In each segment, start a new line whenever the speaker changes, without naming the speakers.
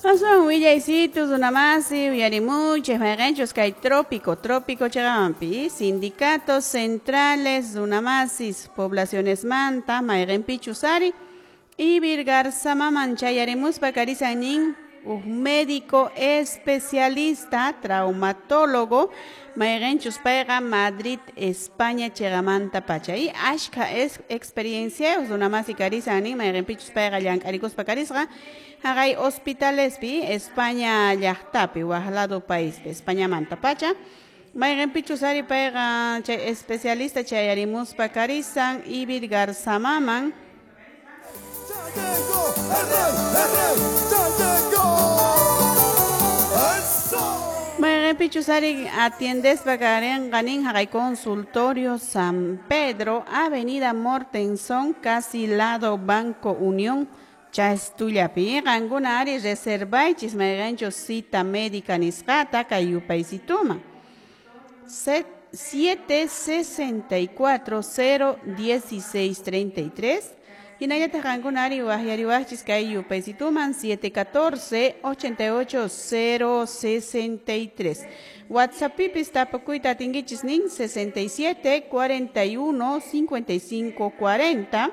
Aswan willaysitu runamasi uyarimuchik mayqinchus kay trópico, trópico chaqampi sindicatos centrales runamasis poblacionesmanta mayqinpichus ari Ivirgarzamaman chayarimuspa karisan nin huk médico especialista traumatólogo mayqinchus payqa Madrid España chiqamanta pacha y ashka experiencia runamasi karisan nin mayqinpichus payqa llank'arikuspa karisqa haqay hospitalespi España llaqtapi waq lado paispi Españamanta pacha mayqinpichus ari payqa chay especialista chayarimuspa karisan Ivirgarzamaman.
¡Ya llegó el rey, el rey! ¡Ya llegó! ¡Eso!
Mayqinpichus ari atiendespa karinqa nin haqay consultorio San Pedro, Avenida Mortenson, casi lado Banco Unión, Chastullapi. Qankuna ari reservaychis mayqinchus cita médica nisqata kay yupaysituman. 764 0 16 33. Hinallataq qankuna ari waqyariwaqchis kay yupaysituman 714 88 0 63. WhatsAppipis tapukuyta atinkichis nin 67 41 55 40.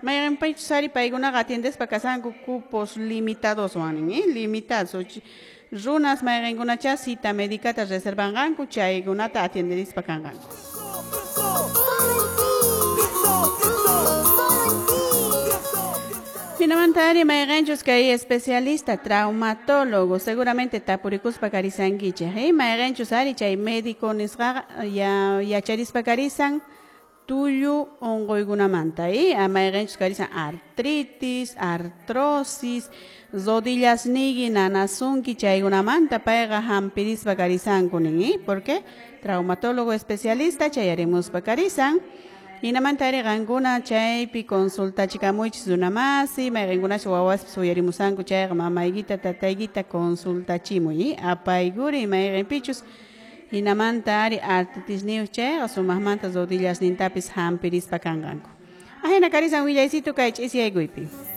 Mayqinpichus ari paykunaqa atiendespa kasanku cupos limitados wan limitados. Runas mayqinkunacha cita médicata reservanqanku chaykunata atienderispa kanqanku. Hinamanta ari mayqinchus kay especialista traumatólogo seguramente tapurikuspa karisankichik, mayqinchus ari chay médico nisqaqa ya yacharispa karisan tullu unquykunamanta, mayqinchus karisan artritis, artrosis, rodillas niyki nanasunki chaykunamanta payqa hampirispa karisanku nin, porque traumatólogo especialista chayarimuspa karisan. Hinamanta ari qankuna chaypi consultachikamuychis runamasi, mayqinkunachu wawaspis uyarimusanku chayqa mamaykita tataykita consultachimuy, apaykuri mayqinpichus hinamanta ari artritisniyuq chayqa sumaqmanta rodillasnintapis hampirispa kanqanku. Ahina karisan willaysitu kay ch'isiyaykuypi.